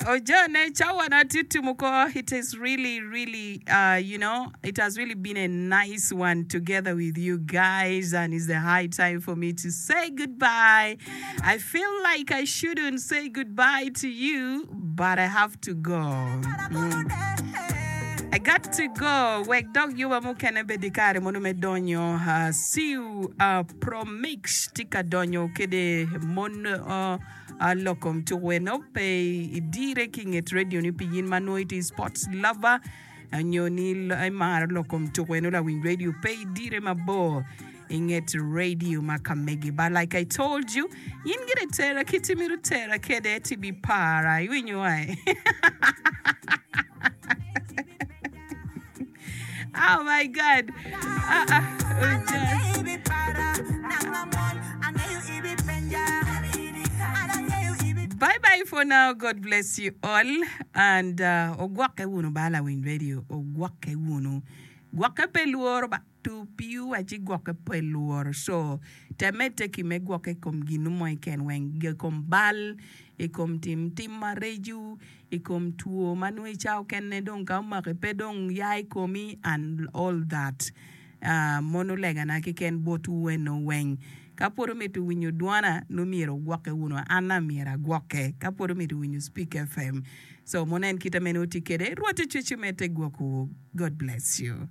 Ojone cawa na tye tumo ko it is really really uh, you know it has really been a nice one together with you guys and it's the high time for me to say goodbye I feel like I shouldn't say goodbye to you but I have to go mm. I got to go wek dok yuba mukene bed i kare mono me donyo uh, see you uh, promix tye ka donyo kede mon uh, Lok kom tuku eno pe idire ki nget radio ni pi yin ma nongo itye sports lover nyo ni imaro lok kom tuku eno lawiny radio pe idire mabor inget radio ma ka megi but like I told you yin gire tera kit imito tera kede ti bi para iwinyo ai Oh my God. Ah, ah, oh, Bye bye for now. God bless you all. And uh, ogwokke wunu ba lawiny radio. Ogwokke wunu. Gwokke pe lworo ba. Tu piwu aci gwokke pe lworo. So, temme teki me gwokke i kom ginu mo iken weng. I kom bal, i kom tim tim mareco, i kom two ma nongo i cawa okene dong ka omaki pe dong ya i komi and all that. Mono legana keken botwu eno weng. Ka pwod omito winyo dwana nongo myero wugwokke wunu. An myero agwokke ka pwod omito winyo Speak FM. So mono en kite meno wutye kwede. Rwot ocwec omedde gwokwu. God bless you.